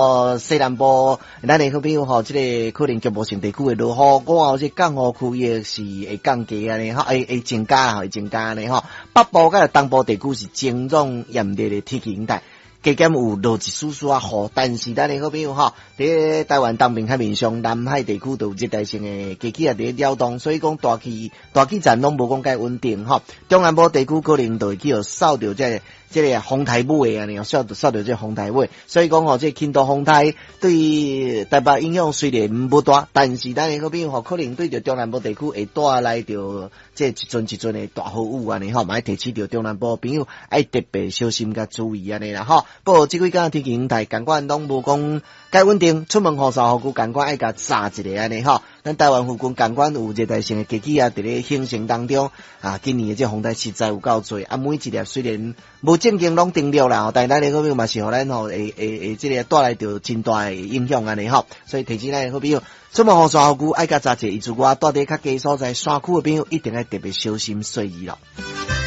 哦，西南部咱的好朋友吼，這个可能局部性地區會落雨，午後這降雨區域是會降低按呢吼，會增加會增加按呢吼。北部佮東部地區是晴朗炎熱的天氣形態。加減有落一絲絲仔雨，但是咱的好朋友吼，佇台灣東邊海面上，南海地區都有熱帶性的低氣壓佇咧擾動，所以講大氣層攏無講介穩定吼。中南部地區可能就會去予掃著這個風台尾按呢，掃著這個風台尾，所以講吼，這個輕度風台對台北影響雖然無大，但是咱的好朋友吼，可能對著中南部地區會帶來著這一陣一陣的大雨雨按呢吼，嘛愛提醒著中南部朋友愛特別小心佮注意按呢啦吼。不過這幾工天氣形態仝款攏無講介穩定，出門雨傘雨具仝款愛共紮一下按呢吼。咱台灣附近仝款有熱帶性的低氣壓佇咧形成當中，啊，今年的這風台實在有夠濟，啊，每一粒雖然無正經攏登陸啦，但咱的好朋友嘛是予咱吼會這个帶來著真大的影響按呢吼。所以提醒咱的好朋友，出門雨傘雨具愛共紮一下，以及我蹛佇較低所在山區的朋友，一定愛特別小心細膩咯。